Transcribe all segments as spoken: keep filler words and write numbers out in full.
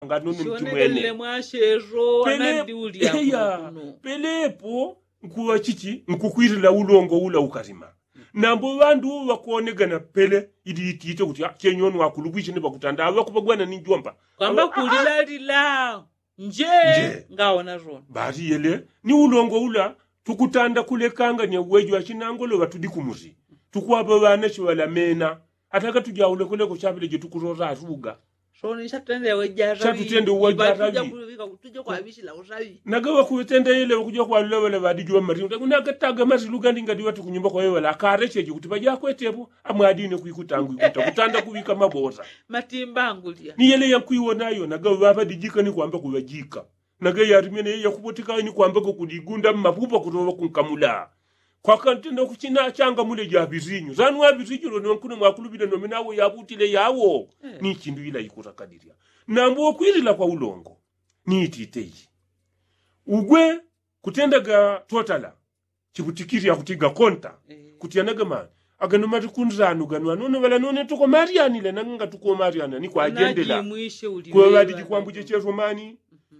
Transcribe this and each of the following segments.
Ngati none mchimwene. Shonelele mwashero. Pele- anandi ulya eya, kuno. Pelepo nkuŵa chichi nkukwilila ulongo ula ukalima. Nambo ŵandu ŵakonegana pele ili itite kuti chenyoni wakulupwishe ni ŵakutanda aŵa kupagwana ni njomba kwamba. Kulilalila nje. Nje ngaona zona. Bati yele ni ulongo ula tukutanda kulekanganya uwejo achinangolo ŵatudi kumusi. Tukwaŵa ŵana chiŵalamena. Ataka tujaule kuleko chapile jetukulola atuga. Soni chatutende uwajaraŵi. Naga ŵakuŵetenda yele ŵakuja kwalula ŵala ŵadijuŵa mari unagataga mari lugandi ngadi ŵati kunyumba kwawe ŵala akarecheji kuti ŵajakwetepo. Amwadine kwikutangu ikuta kutanda kuŵika mabosa. Matimba angulya ni yele yankwiwonayo naga ŵaŵadijika ni kwamba kuŵajika. Naga yarimene yakupotika ni kwamba kukudigunda mmapupa kutoŵa kunkamula. Kwakantenda kuchina changamule ja ŵisinyu sanu ŵaŵisinyu lone wankuno mwakulupile nome nawo yabutile yawo. Ni chindu ila ikutakadilya. Nambo kwilila kwa ulongo ni itite iyi. Ugwe kutendaga totala chiputikili akutiga konta. Kuti anagamani agano mati kunzanu gano anono ŵala none tukomalyanile nanga tukomalyana ni kwajendela. Kuŵa ŵadiji kwambuje chesomani.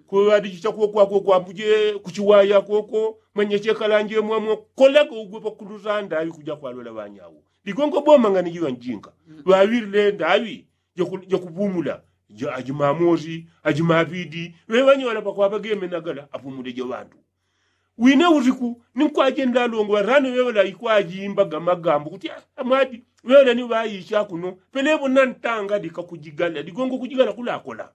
Kuŵa ŵadiji chakuwo kwakwo kwambuje kuchiwayakwoko. Mwenye chekalanje mwamwo kolaga ugwe pakuluzanda aŵi kuja kwalola ŵanyawo. Ligongo boma ngani jiŵa njinga ŵaŵilile ndaŵi jakupumula. Ajimamosi ajimaŵidi ŵeŵanyola pakwaŵa gemenagala apumule jaŵandu. Wine usiku ni nkwajenda alongo ŵarano ŵeŵala ikwajimbaga magambo kuti amwadi ŵeŵala ni ŵaicha kuno. Pelepo nantangadika kujigala ligongo kujigala kulakola.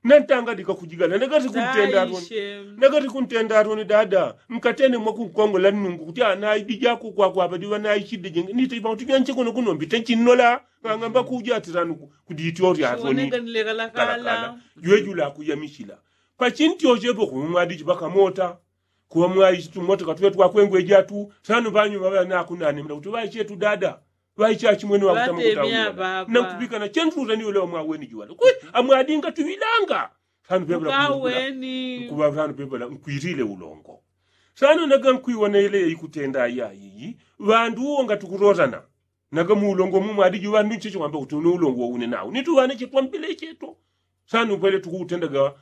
Nantangadika kujigala nagati kuntenda aroni. Nagati kuntenda aroni dada nkatene mwakunkongola nnungu kuti anaidijako kwakwaŵa diŵa naichide jenge nite ipa kuti janche kuno kuno mbite chinnola. Ng'ang'amba kuja atiranu kudityo ori aroni. Kalakala jwejula kuyamichila. Pachintyochepo kuŵa mwadichi ŵakamota. Kuŵa mwaichi tumotoka tuŵe twakwengweja tu sano ŵanyuma ŵanakunanemela kuti ŵaichetu dada. Ŵaichachimwene ŵakutama kutauna nankupikana chentuta ni ule wamwaweni juwale kwe amwadinga tuŵilanga. Sano pepela kuŵa sano pepela nkwilile ulongo. Sano naga nkwiwona ile ikutenda ayayiyi ŵandu uwo ngatukulotana. Naga mu ulongo mumu adiji ŵandu ncheche kwamba kuti une ulongo waune nawo ni tuŵane chetwambile cheto. Sano pwele tukuutendaga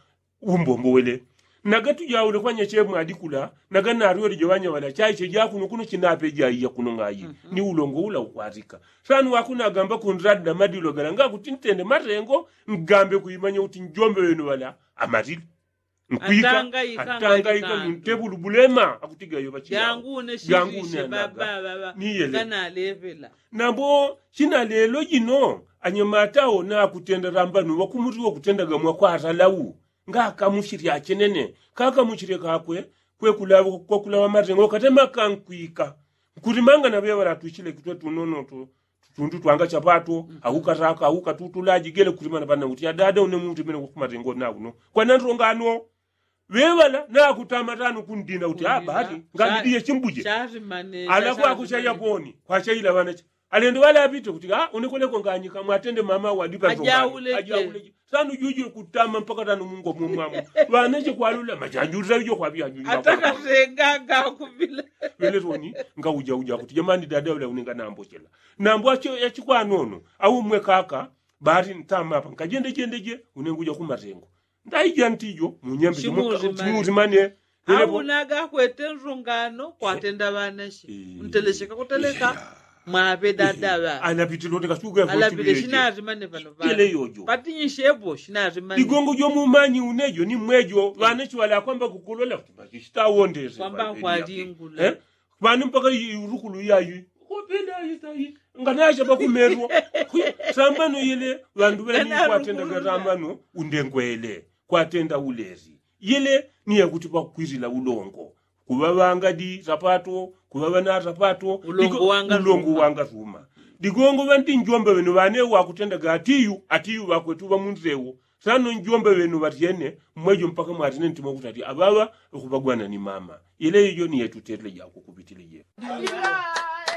umbombo wele. Naga tujaule kwanya chemwe adikula naga narwele jeŵanya ŵala chaiche jakuno kuno chinape jaiya kuno ng'ayi. Ni ulongo ula ukwazika. Sano wakuno agamba kundradi na madilo gala ngakuti ntende matengo ngambe kuimanya kuti njombe wenu ŵala amalile. Nkwika atangaika muntebulu bulema akutiga yoŵa chiyangu. Niyele. Nambo china lelo jino anyamata awo nakutenda lambano ŵakumutiwa kutendaga mwakwaralawu. Ngakamuchilya achenene kakamuchilye kakwe. Kwekulaŵa matengo katema kankwika. Nkulimanga naŵeŵala atwichile kitwe tunonoto tutundu twanga chapato. Aukataka aukatutulaji gele kulimana pana kuti adada une muntu imene kukumatengo nauno kwanandilongano. Ŵeŵala nakutama tano kundina kuti abati ngalidiye chimbuje. Alakwakuchaya poni kwachaila ŵanache. Alendo ŵalapite kuti a unekweleko nganyika mwatende mama wadipa ajaule. Sanu juju kutama mpaka tano mungo mumwamu. Ŵanache kwalula majanjulila ijo kwaŵianjulila. Atakatenga ngakuvila. Ŵeletoni ngauja uja kuti jamani dada ule unenga nambochela. Nambo achikwanono au mmwe kaka. Bati ntama apa nkajende jende je unenguja kumatengo. Ndaija ntijo munyambe chimuzimane. Au nagakwete nzungano kwatenda ŵanache. Ntelecheka kuteleka mwaŵe dadaŵa. Alapitile shinazimane pano ŵale yojo patinyishepo shinazimane. Ligongo jomumanyi unejo ni mwejo ŵanache ŵalakwamba kukulola kuti machishitawondese kwamba kwalingula. Pano mpaka urukulu yayi. Kopenda ayitayi nganacha pakumerwa. Sambano yele ŵandu ŵeni kwatendaga sambano undengwele kwatenda ulezi. Yele niye kuti pakwizila ulongo. Kuŵa ŵangadi sapato kuŵa ŵana sapato. Ulongo wangasuma. Ligongo ŵandi njomba ŵenu ŵane wakutendaga atiyu atiyu ŵakwetu ŵamunzewo. Sano njombe ŵenu ŵatyene mmwejo mpaka mwatine ntima kutati aŵaŵa. Ukupagwana ni mama ile ijo ni yetu tele jako kupitile jeko.